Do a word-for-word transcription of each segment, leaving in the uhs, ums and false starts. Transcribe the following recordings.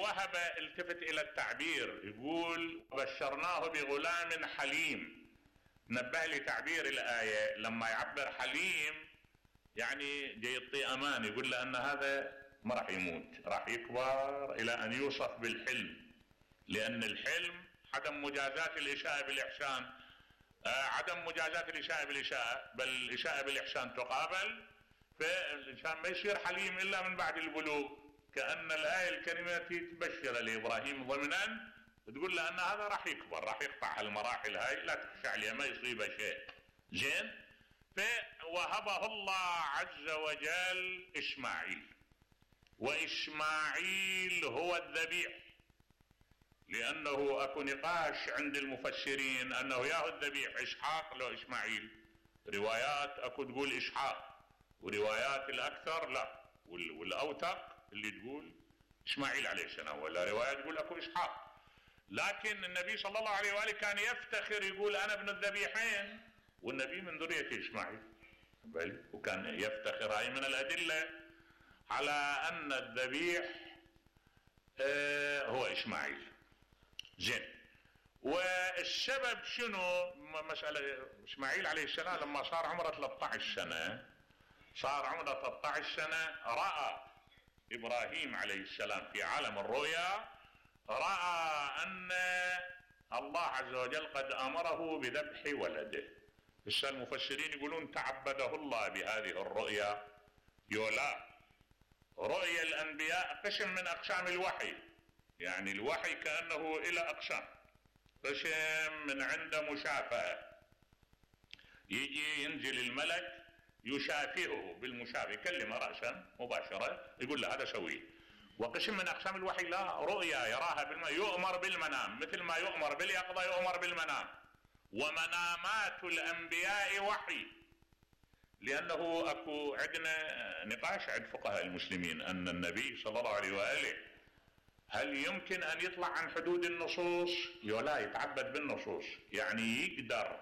وهب التفت الى التعبير، يقول بشرناه بغلام حليم. نبه لي تعبير الآية لما يعبر حليم يعني جاي يعطي امان، يقول له ان هذا ما راح يموت، راح يكبر الى ان يوصف بالحلم، لان الحلم عدم مجازاة الإشاءة بالإحسان، آه عدم مجازاة الإشاءة بالإشاءة، بل الإشاءة بالإحسان تقابل، فالإنسان ما يصير حليم إلا من بعد البلوغ. كأن الآية الكريمة تبشر لإبراهيم ضمنا، تقول له أن هذا راح يكبر، راح يقطع المراحل هاي، لا تخشى عليه ما يصيبه شيء. زين، فوهبه الله عز وجل إسماعيل، وإسماعيل هو الذبيح، لأنه أكو نقاش عند المفسرين أنه ياهو الذبيح إسحاق لو إسماعيل. روايات أكو تقول إسحاق، وروايات الأكثر لا، والأوثق اللي تقول إسماعيل عليه السلام، ولا روايات تقول أكو إسحاق. لكن النبي صلى الله عليه وآله كان يفتخر يقول أنا ابن الذبيحين، والنبي من ذرية إسماعيل، وكان يفتخر. هاي من الأدلة على أن الذبيح آه هو إسماعيل. زين، والسبب شنو؟ مسألة إسماعيل عليه السلام لما صار عمره ثلاثة عشر سنة، صار عمره ثلاثة عشر سنة، رأى إبراهيم عليه السلام في عالم الرؤيا، رأى أن الله عز وجل قد أمره بذبح ولده. بس المفسرين يقولون تعبده الله بهذه الرؤيا. يولا رؤيا الأنبياء قسم من أقسام الوحي، يعني الوحي كأنه إلى أقسام. قسم من عنده مشافهة، يجي ينزل الملك يشافهه بالمشافهة، يكلمه رأسا مباشرة يقول له هذا سويه. وقسم من أقسام الوحي لا، رؤيا يراها بالمنام، يؤمر بالمنام، مثل ما يؤمر باليقظة يؤمر بالمنام. ومنامات الأنبياء وحي، لأنه أكو عندنا نقاش عند فقهاء المسلمين أن النبي صلى الله عليه وآله هل يمكن أن يطلع عن حدود النصوص؟ يولا يتعبد بالنصوص، يعني يقدر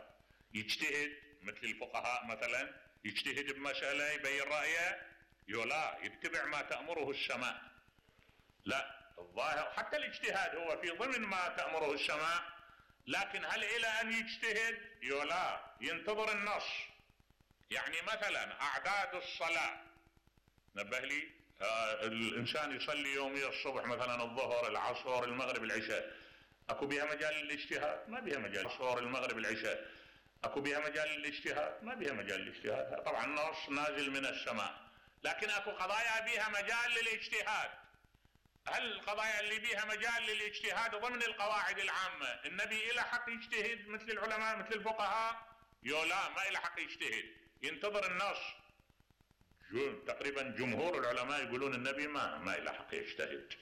يجتهد مثل الفقهاء مثلا، يجتهد بمسألة يبين رأيه، يولا يتبع ما تأمره السماء. لا، الظاهر حتى الاجتهاد هو في ضمن ما تأمره السماء، لكن هل إلى أن يجتهد؟ يولا ينتظر النص. يعني مثلا أعداد الصلاة، نبه لي آه الإنسان يصلي يوميا الصبح مثلا الظهر العصر المغرب العشاء، أكو بها مجال للاجتهاد؟ ما بها مجال. العصر المغرب العشاء أكو بها مجال للاجتهاد؟ ما بها مجال للاجتهاد. طبعا النص نازل من السماء، لكن أكو قضايا بها مجال للاجتهاد. هل القضايا اللي بيها مجال للاجتهاد ضمن القواعد العامة النبي إلى حق يجتهد مثل العلماء مثل الفقهاء؟ يولا ما إلى حق يجتهد، ينتظر النص. تقريبا جمهور العلماء يقولون النبي ما ما إلى حق يجتهد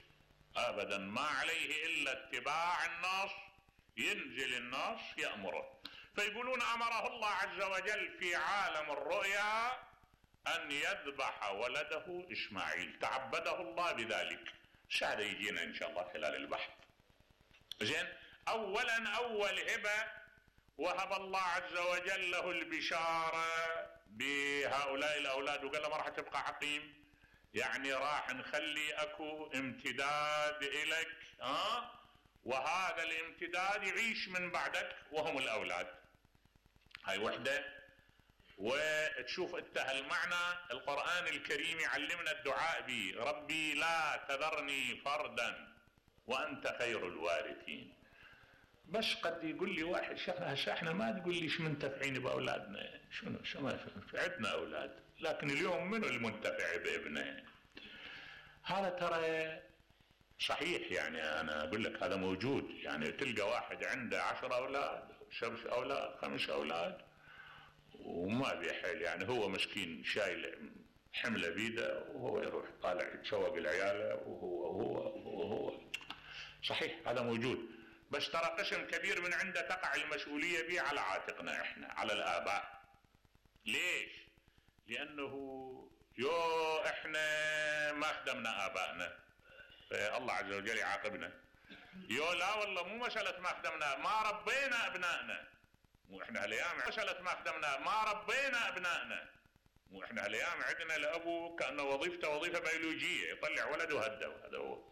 أبدا، ما عليه إلا اتباع النص، ينزل النص يأمره. فيقولون أمره الله عز وجل في عالم الرؤيا أن يذبح ولده إسماعيل، تعبده الله بذلك. هذا يجينا إن شاء الله خلال البحث. زين، أولا أول هبة وهب الله عز وجل له البشارة بهؤلاء الأولاد، وقال له ما راح تبقى عقيم، يعني راح نخلي أكو امتداد إليك، ها، وهذا الامتداد يعيش من بعدك وهم الأولاد. هاي وحدة. وتشوف انت هالمعنى القرآن الكريم يعلمنا الدعاء به، ربي لا تذرني فردا وأنت خير الوارثين. بس قد يقول لي واحد هسه احنا ما تقول ليش منتفعين بأولادنا، شنو شو ما عندنا أولاد، لكن اليوم منو المنتفع بابنه؟ هذا ترى صحيح، يعني أنا أقول لك هذا موجود. يعني تلقى واحد عنده عشر أولاد، شبش أولاد، خمس أولاد، وما بيحل، يعني هو مسكين شايل حمله بيده، وهو يروح طالع يتشوق العياله، وهو وهو وهو صحيح هذا موجود. بس ترى قسم كبير من عنده تقع المسؤوليه به على عاتقنا احنا، على الآباء. ليش؟ لأنه يو احنا ما خدمنا آبائنا، الله عز وجل يعاقبنا. يو لا والله مو مسألة ما خدمنا، ما ربينا أبنائنا. مو احنا هالايام مسألة ما خدمنا، ما ربينا ابنائنا. مو احنا هالايام عندنا الابو كأنه وظيفته وظيفة بيولوجية، يطلع ولده وهده، هذا هو.